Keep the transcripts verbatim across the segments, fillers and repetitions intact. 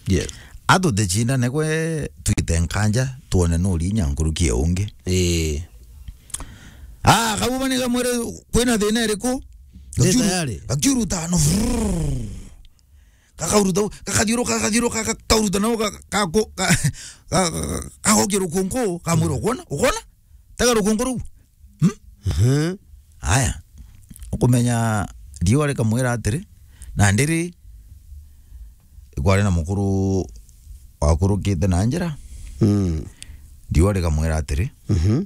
Yes. Atutecindane gwe, twite nkanja, twone nuri inya nkuruki ya ungi. Ii. Ah, Kabuba ni kamwire, kwina thina iriku? Ni tayari. Gakiuru-, gakiurutana. Kakauruta, kakathiuruka, kakathiuruka, kakauruta nao, ka-, ka-, ko-, ka-, ka-, ka-, kagokia rukunku, kamwira, "Ukwona? Ukwona? Tega rukunku ruu." Hmm? Mhm. Aya. Ukumenya riua rikamwira atiri, na ndiri, ikwari na mukuru wakurukite na njira. Mm. Riua rikamwira atiri, Mhm.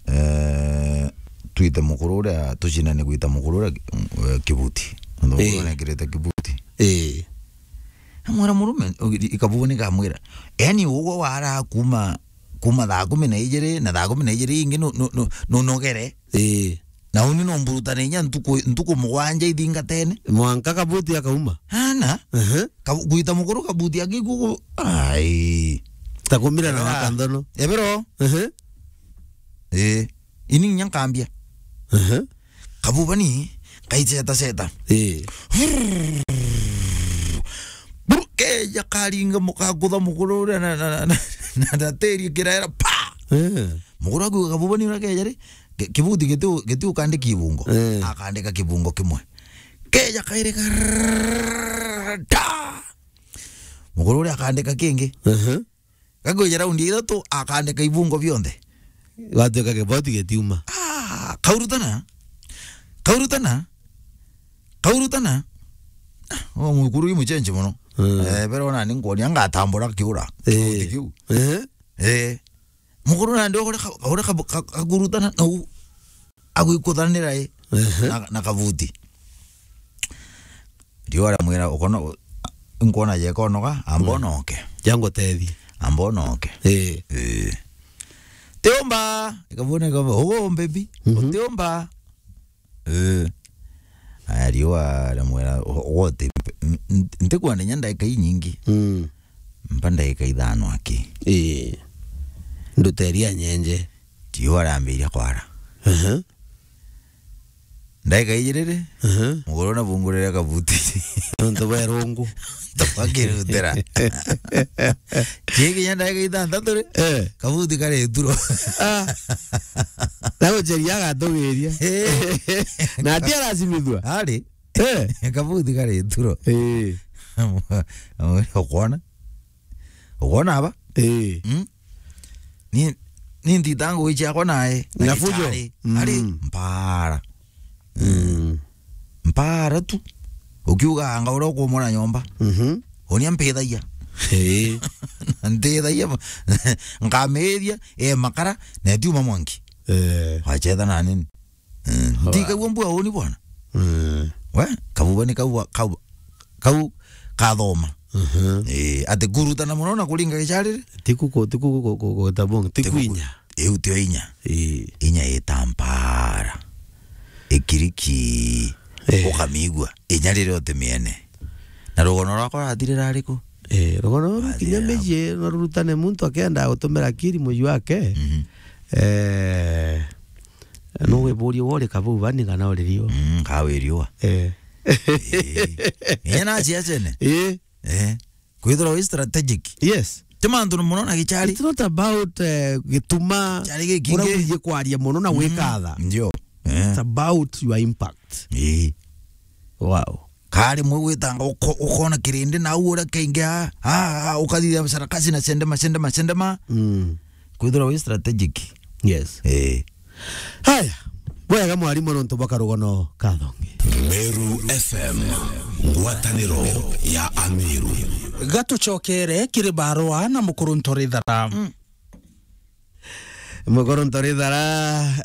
eh, twite mukuru uria, tucindane gwita mukuru uria, eh, kibuti. Nontu mukuru Ii. nekirite kibuti. Ii. Amwira murume, i-, i-, Kabuba ni kamwira. Yaani, ugwe wara kuma, kuma thaa kumi na ijiri, na thaa kumi na ijiri ingi nu-, nu-, nu-, nunogere. Ii. Na uni no mburutane inya ntuku, ntuku mugwanja ithingatene. Mwanka kabuti akauma. Ana. Ehe. Ka-, gwita mukuru kabuti akikuku. Ai. Takumira na Ebera. Wakandono. Ebero. Ehe. Eh. Ini inya nkambia. Ehe. Kabuba ni kaiceta ceta. Ii. Buru, keja karinga mukakutha mukuru uria na, na, na, na, na tiri kirera, pa! Eh. Mukuru aku Kabuba ni uria keja ri, ki-, kibuti gitu, gitu ukandika ibungo. Eh. Akandika kibungo kimwe. Keja kairi ka-, ta! Mukuru uria akandika kingi. Ehe. Gakwija raundi ya ithatu, akandika ibungo bionthe. Gwatuika kiboti gitiuma. Ah, kaurutana. Kaurutana. Kaurutana. Ah, o mukuru wi muchenji muno. Mm. Eh, bero na ni nkuonia ngatambura kiura. Eh. Kiu. Eh. Eh. Mukuru nandi ugure ka-, ugure ka-, ka-, kakurutana na u-, agwikuthanira i. Ehe. Na, na kabuti. Riua aramwira, "Ukono-, nkuona jeka onoga, amba Mm. onoke. Jangutethie. Amba onoke." Ii. Ii. Tiumba, ikabone kaba, "Ugo, baby, Mhm. utiumba." Ii. Aya, riua aramwira, "Ugo, uti, n-, n-, ntikwenda inya ndagika inyingi." Mm. Mpa ndagika ithano aki. Ii. Nduteria nyenje. Riua riambiria kwara. Aha. Ndagika ijiri ri, Aha. muguru nabungurire kabuti. Nontu bwa irungu. Tukakirutira. Kinya ndagika ithanthatu ri, Eh. kabuti kari ituro. Ah. Na guceria agatugiria. Eh. Na ati aracimithua. Ari. Eh. Kabuti kari ituro. Eh. Ukwona? Ukwona aba? Eh. Mm? Ni, ni ntita ngugi ciakwa nae. Na fujo. Ari, Mm. ari, mpara. Mm. Mpara tu. Ukiuga anga uria ukumona nyomba. Mhm. Unia mpithagia. Eh. Ntithagia. Nkamithia, e makara, na etiuma mwanki. Eh. Wachetha na nini? Mm. Ndikaigua mbua uni bwana. Mm. We, kabuba ni kau, kau, kau kathoma. Mhm. Eh, ati kurutana muno na kuringa gicari ri? Tiku ku-, tiku ku-, ku-, ku-, kutabong-, Tiku ku-, tikwinya. Iu tio inya. Ii. Inya itampara. Ikiriki. Eh. Ukamigua. Inya riria utimiene. Na rugono rwakwa rurathirira ariku? Eh, rugono ruru kinya Rurathirira. Miji no rurutane muntu akenda gutumira akiri muju wake. Mhm. Eh, Mm. No wiburie wori kabuba ni kana uri riua. Mm, ka wi riua. Eh. Eh. Ina ciacene. Eh. Eh. Kwithirwa wi strategic. Yes. Ti mantu muno na gicari. It's not about, eh, gituma Gicari gikingi. Uria wigie kwaria muno na Mm, gwikatha. Ndio. Eh. It's about your impact. Eh. Wow. Kari mwe gwitanga uko-, ukona kirindi na u uria kaingi a, a, a, ukathithia sarakasi na sendema, sendema, sendema. Mm. Kwithirwa wi strategic. Yes. Eh. Haya. Bwega mwarimu nontu bwa karugono kathongi. Meru F M, ngwataniro ya Ameru. Gatucokere kiri barua na mukuru Ntorithara. Mm. Mukuru Ntorithara,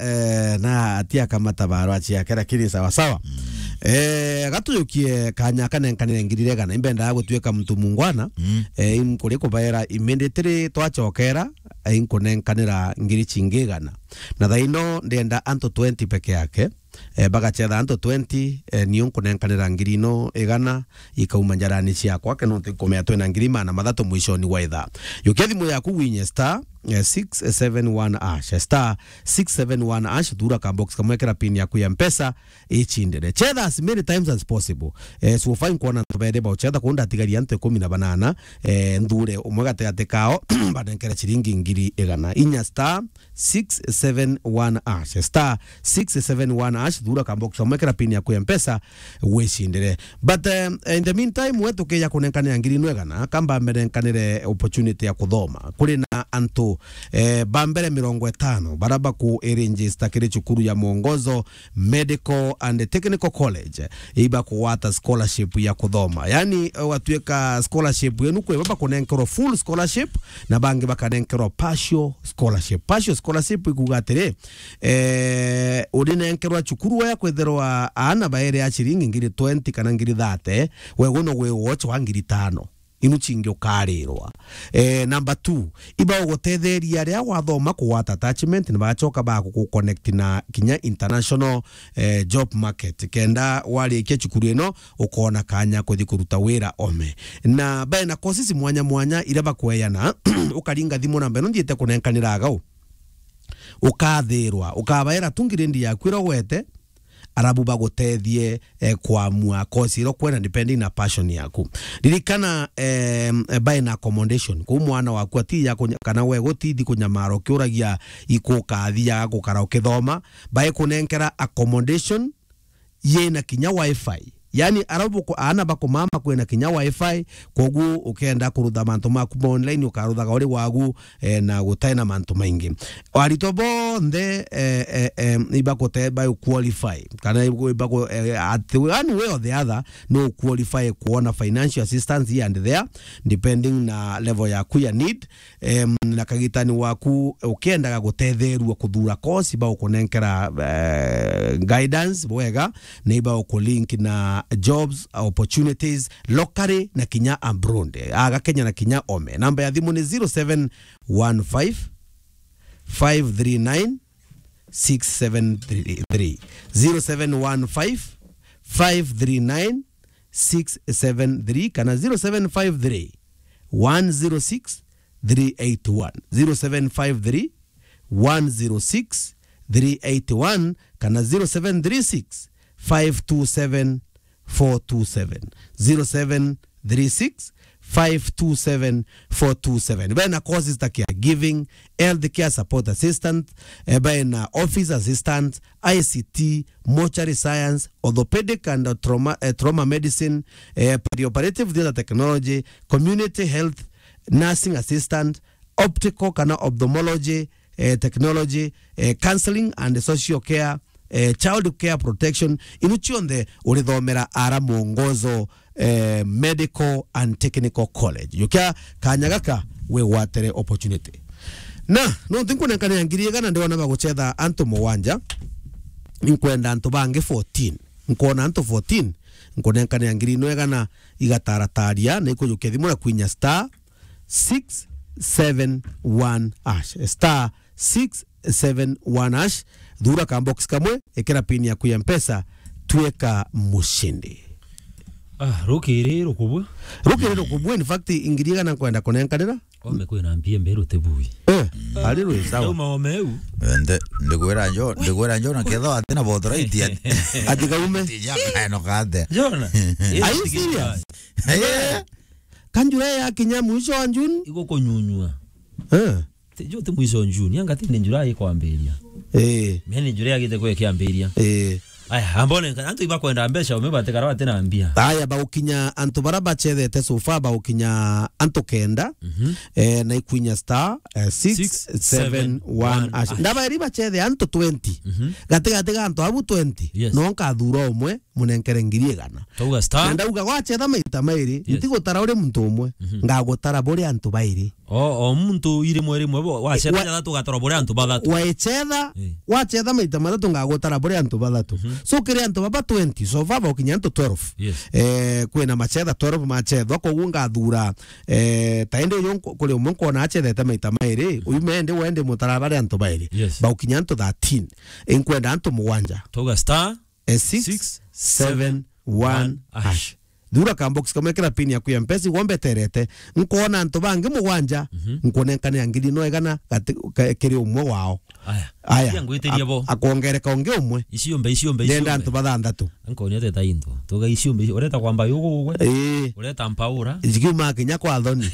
eh, na atia kamata barua ciake, lakini sawa sawa. Mm. Eh, gatujukie kanya kanenkanire ngiri igana. Imbendaga gutuika muntu mungwana. Mm. Eh, inkuri kubaira immediately twacokera, eh, inkunenkanira ngiri cingi igana. Na thaa ino ndenda antu twenty peke yake, eh, bagachetha antu twenty, eh, niu nkunenkanira ngiri ino igana ikauma njarani ciakwa, ke nontu nkumenya twina ngiri maana mathatu mwishoni wa ithaa. Yukia thimu yaku winye star, eh, six seven one hash, star six seven one hash, thura ka box kamwe, kira pin yaku ya Mpesa, ichindire. Chetha as many times as possible. Eh, so far nkwona antu bairi bauchetha, kuu ndatigaria antu ikumi na banana, eh, nthure umwe gatigati kao, banenkere ciringi ngiri igana. Inya star six seven one hash, star six seven one hash, thura ka box kamwe, kira pin yaku ya Mpesa, wicindire. But, eh, in the meantime, we tukija kunenkanira ngiri ino igana, kamba mbenenkanire opportunity ya kuthoma. Kuri na antu, eh, ba mbere mirongo itano, bara baku register kiri cukuru ya Mwongozo Medical and Technical College, iba kugwata scholarship ya kuthoma. Yani, ugatuika scholarship yenu, kwi baba kunenkerwa full scholarship, na bangi bakanenkerwa partial scholarship. Partial scholarship ikuga atiri, eh, urinenkerwa cukuru ya kwithirwa aana bairi a ciringi ngiri twenty kana ngiri thirty, we guno gwi wocho wa ngiri tano. Inu cingi ukarirwa. Eh, number two, iba ugutetheria aria wathoma kugwata attachment, ni bacoka bagukuconnect na kinya international, eh, job market. Kenda warikia cukuru ino, ukona kanya kuthi kuruta wira ome. Na bae na courses mwanya mwanya iria bakweana, ukaringa thimu namba ino nthiite kunenkanira agau. Ukathirwa, ukabaira tu ngiri ndi yaku iria ugwete, arabu bagutethie, eh, kwamua course iria ukwenda depending na passion yaku. Ririkana, eh, eh, bae na accommodation. Kuu mwana waku ati ya kunya-, kana we gutithi kunyamara ukiuragia ikukathia gukara ukithoma, bae kunenkera accommodation yina kinya wifi. Yani, arabu ku-, aana bakumama kwina kinya wifi, koguo ukenda kurutha mantu maku ma online, ukaruthaga uri wagu, eh, na gutai na mantu maingi. Aritwa bonthe, eh, eh, eh, ibagute-, ba qualify, kana ibagu-, eh, at one way or the other, no qualify kuona financial assistance here and there, depending na level yaku ya need. Em, na kagitani waku ukiendaga gutetherua kuthura course, iba ukunenkera, eh, guidance bwega, na iba ukulink na jobs opportunities locally na kinya abroad, aga Kenya na kinya ome. Namba ya thimu ni zero seven one five, five three nine, six seven three three. Zero seven one five, five three nine, six seven three kana zero seven five three, one zero six, three eight one. Zero seven five three, one zero six, three eight one kana zero seven three six, five two seven, four two seven. Zero seven three six, five two seven, four two seven. Bena courses ta caregiving, healthcare support assistant, eh, bena office assistant, I C T, mortuary science, orthopedic and trauma, eh, trauma medicine, eh, perioperative theatre technology, community health, nursing assistant, optical kana ophthalmology, eh, technology, eh, counseling and social care, eh, child care protection, inu cionthe urithomera ara Mwongozo, eh, Medical and Technical College. Yukia kanya gaka wigwatere opportunity. Na, nontu nkunenkanira ngiri igana ndiona bagucetha antu mugwanja, nkwenda antu bangi fourteen. Nkona antu fourteen, nkunenkanira ngiri ino igana igatarataria, na ikujukia thimu na kwinya star six seven one hash. Star six seven one hash. Thura ka box kamwe, ikira pin yaku ya Mpesa, tweka mushindi. Ah, rukiri rukubwe. Rukiri rukubwe, in fact, ngiri igana nkwenda kunenkanira. Ome kwina mpia mberu tibui. Eh, ari rwi sawa. Ndauma ome eu. Ende, ndikwira njo, ndikwira njo na ketho atina bothoraithi ati. Ati kaume. Tija kaeno kate. Jona. Are you serious? Eh. Kanjura ya kinya mwisho wa June. Igukunyunyua. Eh. Ti, jo, ti mwisho wa June, anga ti ni July ikwambiria. Eh. Mimi ni July agite kwe kiambiria. Eh. Aya, ambone, antu ibakwenda mbeca, umebatikara bati na mbia. Aya, bagukinya antu bara bachethete so far, bagukinya antu kenda, mhm, eh, na ikwinya star, eh, six seven one hash. Six seven one hash. Ndaba iri bachethe antu twenty. Mhm. Gatigati ga antu abu twenty, yes, no nkathura umwe, munenkere ngiri igana. Tauga star. Na ndauga gwachetha maita mairi, yes, ntigutara uri muntu umwe, mhm, ngagutara buri antu bairi. O, o muntu irimwe rimwe bo, wacetha Wa- jathatu ugatora buri antu bathatu. Waicetha, Eh. wacetha maita mathatu ngagutara buri antu bathatu. Mhm. So kiri antu baba twenty, so far baukinya antu twelve. Yes. Eh, kwina macetha twelve macethwa, koguo ngathura, eh, ta indi uyu nku-, kuri umwe nkwona acethete maita mairi, Mhm. uyu mendi wendi mutara bari antu bairi. Yes. Baukinya antu thirteen. Inkwenda antu mugwanja. Tuga star Eh, six seven one hash. Thura ka box kamwe kira pin yaku ya Mpesa, igwa mbeterete. Nkoona antu bangi mugwanja, Mhm. nkunenkanira ngiri no igana gati-, ka-, kiri umwe wao. Aya. Aya. Cia ngwitirie bo. Ak-, akongereka ungi umwe. Iciumbe, iciumbe, Ndenda iciumbe. antu bathanthatu. Nkonia teta into. Tuga iciumbe, ici-, ureta kwamba yugu ugwe. Ii. Ureta mpaura. Ikiuma kinya kwa thoni.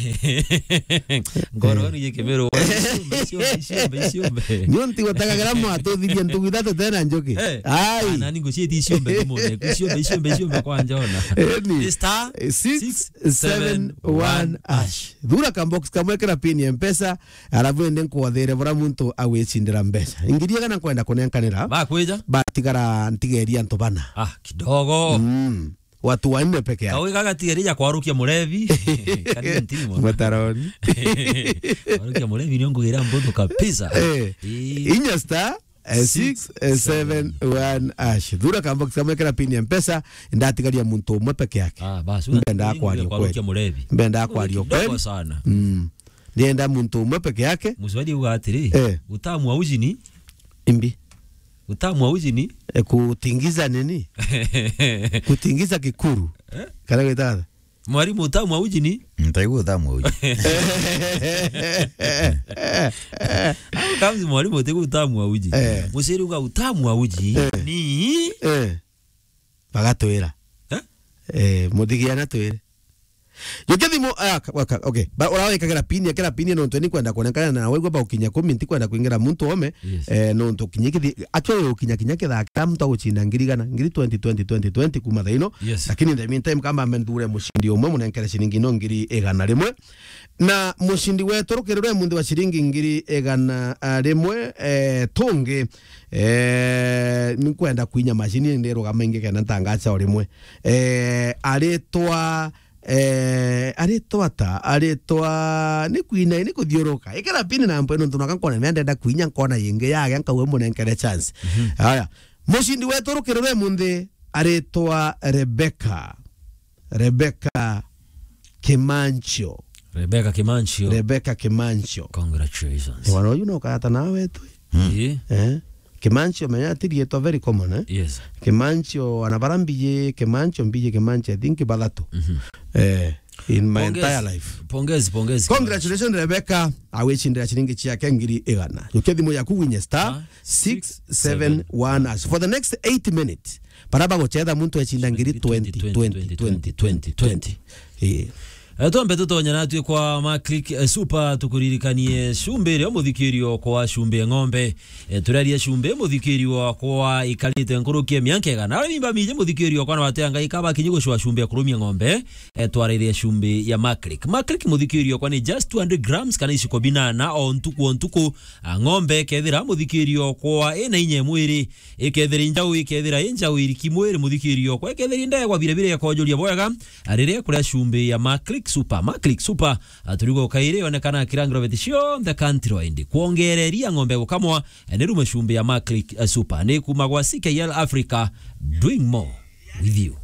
Ngoro Eh. ni gikimero. Iciumbe, iciumbe, iciumbe, iciumbe. Nio ntigutagagira mwatuthirie ntugu ithatu tena njuki. Eh, Ai. ana ningo cieti iciumbe thimune. Iciumbe, iciumbe, iciumbe kwa njona. Eni. Ni star Eh, six seven one hash. Thura ka box kamwe kira pin ya Mpesa, arabu ende nkwathere bura muntu agwicindira mbeca. Ngiri igana nkwenda kunenkanira. Bakwija? Batigara ntigeria antu bana. Ah, kidogo. Mm. Watu wanne peke yake. Kawega gatigaria ja kwarukia murevi. Kanini ntini mono. Mataroni. Kwarukia murevi nio ngugira mbutu kabisa. Eh, Ii. inya star, eh, Six, six, eh, seven, one hash. Thura ka box kamwe kira pin ya Mpesa, ndatigaria muntu umwe peke yake. Ah, basi, Mbenda una-, kwaria kwarukia ukweli. murevi. Mbenda kwaria Kidogo ukweli. sana. Mm. Ndienda muntu umwe peke yake. Muswali uga atiri, Eh. utamu wa uji ni? Imbi. Utamu wa uji ni? Eh, kutingiza nini? Kutingiza kikuru. Eh? Kana gwita atha? Mwalimu, utamu wa uji ni? Ntaigua utamu wa uji. Au kamzi mwalimu, utaigua utamu wa uji. Eh. Muciri uga utamu wa uji Eh. ni? Eh. Bagatwira. Eh? Eh, muthigia na twire. Jukia thimu, ah, ka-, ka-, okay. Ba, urawikagira pin, ikira pin nontu ni kwenda kuonekana na waigua baukinya kumi, ntikwenda kuingira muntu ome. Yes. Eh, nontu kinya kithi, actually ukinya kinya kithaa kira muntu agucinda ngiri igana, ngiri twenty, twenty, twenty, twenty kuma thaa ino. Yes. Lakini in the meantime, kamba nthure mucindi umwe munenkere ciringi no ngiri igana rimwe. Na mucindi wetu rukiri rwe munthi wa ciringi ngiri igana, ah, rimwe, eh, tungi, eh, ni kwenda kwinya macini ndirugama ingi kenda ntangaca o rimwe. Eh, aritwa, eh, aritwa ta, aritwa ni kwina, ni kuthiuruka. Ikira pini na mpwe nontu naka nkona mea ndenda kwinya nkona yingi yage nkauga munenkere chance. Mhm. Haya. Mucindi wetu rukiri rwe munthi aritwa Rebecca. Rebecca Kimancho. Rebecca Kimancho. Rebecca Kimancho. Congratulations. Ni wana uyu no kayata nawe tu. Mm. Ii. Eh? Kimancho menya ti rietwa very common, eh? Yes. Kimancho ana bara mbiji, Kimancho mbiji, Kimancho, I think bathatu. Mhm. Eh, in my Pongezi. entire life. Pongezi, pongezi. Congratulations, Rebecca. Awicindira ciringi ciake ngiri igana. Jukia thimu yaku winye star Ah, six seven one hash. For the next eight minutes, bara bagucetha muntu ecinda ngiri twenty, twenty, twenty, twenty, twenty. Eh. Eh, twambe tutonye natwi kwa Maclick, eh, Super, tukuririkanie cumbi iria muthikirio kwa cumbi ya ng'ombe. Eh, turaria cumbi muthikirio kwa ikarite nkuruki ya mianka igana. Aria mimba miji muthikirio kwa na watea ngai kaba kinyi gucwa cumbi ya kurumia ng'ombe. Eh, twarairia cumbi ya Maclick. Maclick muthikirio kwa ni just two hundred grams kana iciko binana o ntuku o ntuku. A ng'ombe kethira muthikirio kwa ina inya mwiri. Ikethira i njau, ikethira i njau iriki mwiri muthikirio kwa, ikethira i ndegwa birabira ikojuria bwega, a, riria kuria cumbi ya Maclick Super. Maclick Super, a, turigo kairi yonekana kira ngiroveti cionthe country wide. Kwongereria ng'ombe gukamwa, a, ni rume cumbi ya Maclick, a, Super. Ni kuma gwa C K L Africa, doing more with you.